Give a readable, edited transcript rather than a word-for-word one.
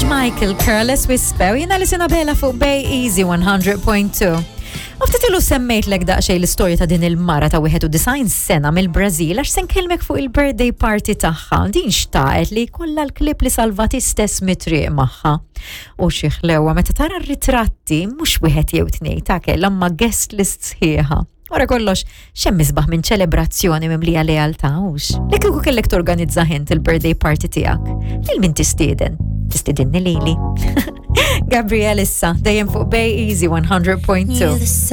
Michael Careless Whisper, jina li sinabela fuq Bay Easy 100.2. U ftit ilu semmejtlek daqsxejn l-istorja ta' din il-mara ta' 91 sena mill-Brażil għax se nkellmek fuq il-birthday party tagħha. Din xtaqet li jkollha l-klib li salvati stess mit-triq magħha. U xi ħlewa meta tara r-ritratti mhux wieħed jew tnejn ta' kellha ma guest list sħiħa. Wara kollox, xemm isbaħ minn ċelebrazzjoni mimlija lealtà hux? Li kieku kellek torganizza ħint il-birthday party tiegħek. Lil min tistieden? Tistidinni lili. Gabriel issa, dejjem fuq Bay Easy 100.2.